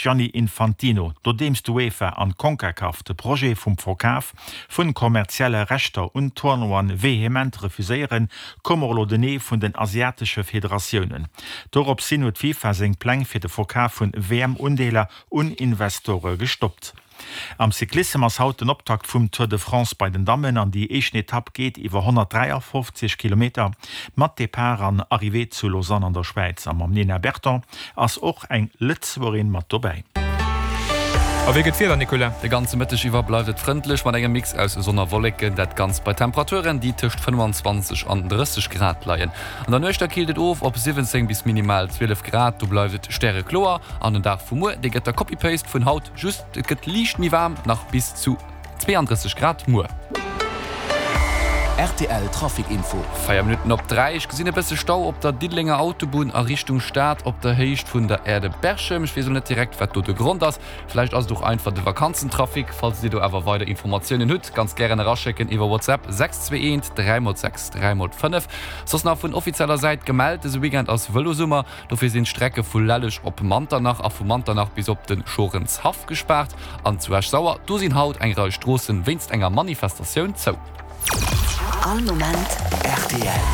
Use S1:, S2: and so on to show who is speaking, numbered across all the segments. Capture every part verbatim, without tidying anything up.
S1: Gianni Infantino. Nodeems d'UEFA an d'Concacaf de Projet vum Verkaf vun kommerzielle Rechter un Tournoien vehement refuséieren, koum och elo den Nee vun den asiatesche Federatiounen. Dorops hin huet d'FIFA seng Pläng fir de Verkaf vun W M-Undeeler un Investore gestoppt. Am Cyclissem ass haut den Optakt vum Tour de France bei den Dammen an déi éischten Etapp geet iwwer honnertdräiafofzeg Kilometer mat Depart an Arrivée zu Lausanne an der Schwäiz. A mam Nina Berton ass och eng Lëtzebuergerin mat dobäi.
S2: A wéi gëtt d'Wieder, Nicolas?
S3: De ganze Mëtteg iwwer bleift et frëndlech mat engem Mix aus Sonn a Wolleken, dat Ganzt bei Temperaturen, déi tëscht fënnefanzwanzeg an drësseg Grad leien. An der Nuecht da killt et of op siwwenzéng bis minimal zwielef Grad, do bleift et stärekloer. An den Dag vu muer, dee gëtt da Copy-Paste vun haut, just et gëtt liicht méi waarm, nach bis zu zweeandrësseg Grad muer.
S4: R T L Trafic Info.
S3: Véier Minutten op dräi, Ech gesinn e bësse Stau op der Diddelenger Autobunn a Richtung Stad op der Héicht vun der Aire de Berchem. Ech weess elo net direkt wat do de Grond ass. Vläicht ass et och einfach de Vakanzentrafic. Falls dir do awer weider Informatiounen hutt, ganz gären eraschécken iwwer WhatsApp, sechs zwee eent dräi mol sechs dräi mol fënnef. Soss nach vun offizieller Säit gemellt, Dëse Weekend ass Vëlosummer, dofir sinn d'Strecke vu Lelleg op Manternach a vu Manternach bis op de Schorenshaff gespaart. An zu Esch-Sauer, do sinn haut eng Rei Stroossen wéinst enger Manifestatioun zou.
S5: All Moment
S4: R T L.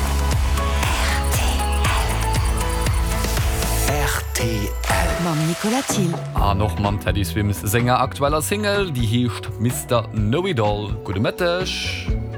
S4: R T L.
S5: Mam Nicolas Thill.
S3: An och mam Teddy Swims senger aktueller Single, déi heescht Mister Know It All. Gudde Mëtteg.